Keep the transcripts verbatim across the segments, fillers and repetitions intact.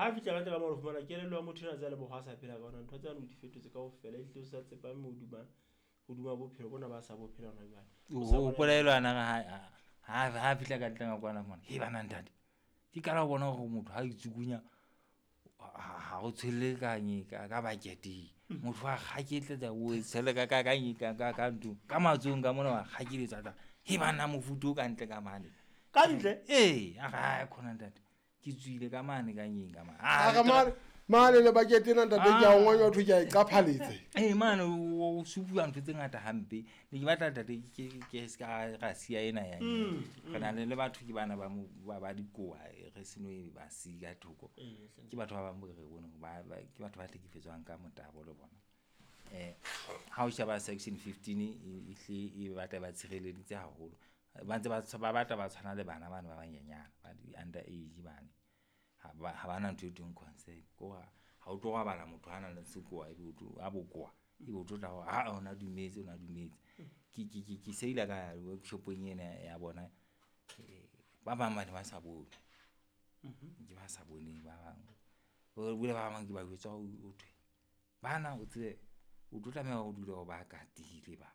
Ha fihla ka ntle ka mo fumana kelello ya motho ena tsa le bohwa sa phela ka ona ntho tsane o di fetotse kaofela, ehlile o sa tsepame hodima hodima bophelo bona ba sa bophela hona jwale. O hopola elo ana re ha ha ha fihla ka ntle ka kwana mona, he bana ntate. Ke qala ho bona hore motho ha itsukunya ha o tshwelle ka ka ka bucket-eng. Motho wa kgaketletsa o tshele ka ka ka ka ka ka nthong ka matsohong ka mona wa kgakeletsa tla. He banna mofuthu o ka ntle ka mane. Ka ntle? Ee, a re ha khona ntate. Ke tswile ka mane ka nyeng ka mane. A re mane mane le bucket ena ntate ke a o ngonya thwe ke a e qaphaletse. Eh mane o supuwa ntho tse ngata hampe. Ne ke batla ntate ke ke se ka ra siya ena ya. Re na le le batho ke bana ba mo ba ba dikoa re seno e ba siya thoko. Ke batho ba bang bo re bone ba ke batho ba hlekefetswang ka motabo le bona. Eh ha o sheba section fifteen e hle e batla ba tshireleditse haholo. Ba ntse ba ba batla ba tshwana le bana bana ba banyenyane ba di under age bane. Ha ba ha bana ntho e thweng consent. Ko ha o tlo robala motho a nang le sekowa ebe o tlo a bokowa ebe o tlo tla hore ha ona dumetse ona dumetse. Ke ke ke ke seila ka workshopong ena ya bona ba bang ba ne ba sa bone. Ke ba sa boneng ba bang. O bile ba bang ke ba jwetsa ho thwe bana o tsebe o tlo tlameha ho dula o ba katile ba.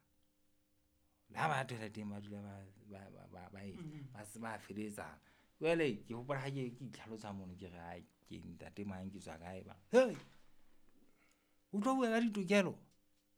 Le ha ba toileteng ba dula ba ba ba ba ba ba se ba feletsa. Jwale ke hopola ha ke ke itlhalosa mono ke re ha ke ntate mang ke tswa kae ba. Hey! O tlo bua ka ditokelo?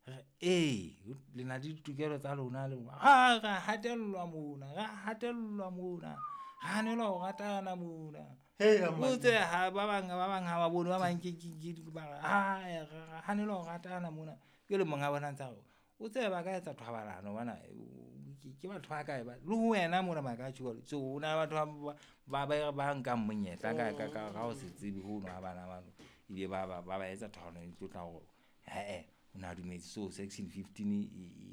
Re ee, le na le ditokelo tsa lona le ha ra hatellwa mona, ra hatellwa mona. Hanelwa ho ratana mona. Hey, O tse ha ba bang ba bang ha ba bone ba bang ke ke ke ba ha ra hanelwa ho ratana mona. Jwale monga bona ntsa re o tsebe ba ka etsa thobalano bana ke batho ba kae ba le ho wena mona ba ka tjho. So o na batho ba ba ba nkang monyetla ka ka ka ho se tsebe ho no ha bana ba ile ba ba ba etsa thobalano e tlo tla hore eh o na dumetse. So section fifteen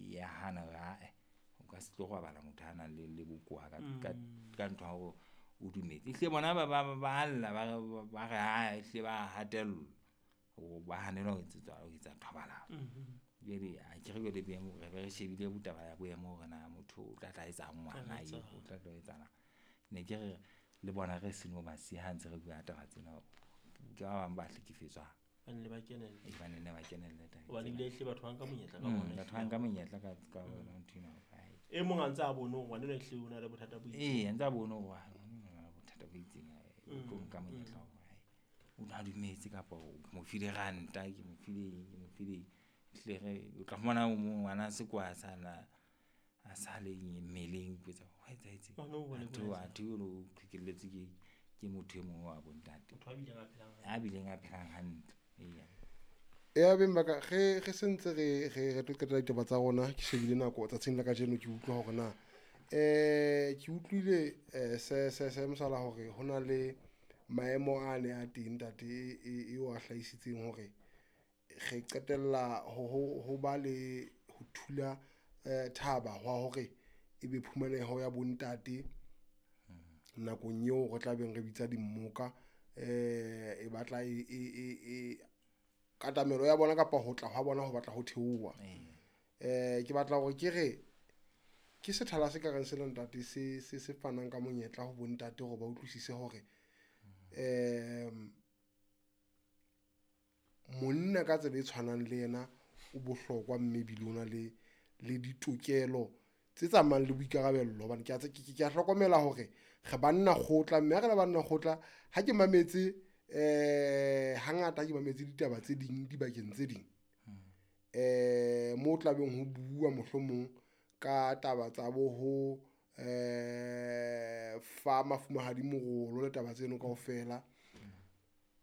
ya hana ha eh o ka se tlo robala motho a nang le le bokowa ka ka ka ntho ya hore o dumetse. Ehlile bona ba ba ba lla ba ba re ha ehlile ba hatellwa ba hanelwa ho etsetsa ho etsa thobalano. Jwale a ke re jwale boemo re be re shebile botaba ya boemo hore na motho o tla tla etsa ngwana eo o tla tla etsana. Ne ke re le bona re seno ba siya ha ntse re bua taba tsena ke ba bang ba hlekefetswang. Ba ne ba kenelle. E ba ne ba kenelle tabeng Hobane tsena. ebile ehlile batho ba nka monyetla ka Mm, bona. batho ba nka monyetla ka ka bona ntho ena. E mong a ntse a bone hore ngwana enwa ehlile o na le bothata bo itseng. Ee, a ntse a bone hore ngwana o na le bothata bo itseng, o tlo nka monyetla hore hai o na dumetse kapa o mo file ranta, ke mo file eng, ke mo file eng. Ehlile re o tla fumana ngwana sekowa a sa na a sa le mmeleng ke tsa ho etsahetse. Ngwana o bone Athe bo athe o lo qhekelletswe ke ke motho e mong wa bontate. Motho a bileng a phelang hantle. A bileng a phelang hantle. Eya. Ya beng ba ka ge ge sentse re re re tlo qetela ditaba tsa rona ke shebile nako tsatsing la kajeno ke utlwa hore na eh ke utlwile eh se se se mosala hore hona le maemo a ne a teng ntate e e o a hlahisitseng hore re qetella ho ho ho ba le ho thula eh thaba hwa hore ebe phumaneho ya bontate nakong eo re tla beng re bitsa dimmoka eh e batla e e e katamelo ya bona kapa ho tla hwa bona ho batla ho theoha. Eh ke batla hore ke re ke sethala se ka reng sena ntate se se se fanang ka monyetla ho bontate hore ba utlwisise hore eh monna ka tsela e tshwanang le yena o bohlokwa mme ebile o na le le ditokelo tse tsamayang le boikarabello. Hobane ke a ke ke a hlokomela hore re banna kgotla mme ha re le banna kgotla ha ke mametse eh hangata ke mametse ditaba tse ding dibakeng tse ding eh mo tlabeng ho bua mohlomong ka taba tsa bo ho eh fa mafumahadi morolo le taba tseno kaofela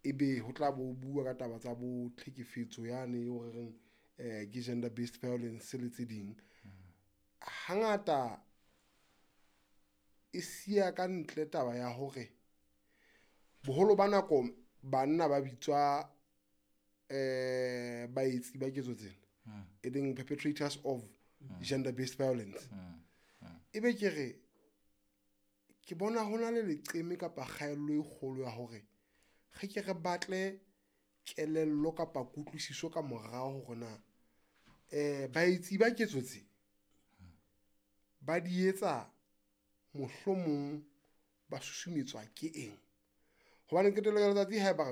ebe ho tla bo bua ka taba tsa bo tlhekefetso yane eo re reng eh ke gender based violence le tse ding. Hangata e siya ka ntle taba ya hore boholo ba nako banna ba bitswa eh baetsi ba ketso tsena e leng perpetrators of gender based violence. Ebe ke re ke bona hona le leqeme kapa kgaello e kgolo ya hore re ke re batle kelello kapa kutlwisiso ka morao hore na eh baetsi ba ketso tse ba di etsa mohlomong ba susumetswa ke eng. Hobane qetellong ya letsatsi haeba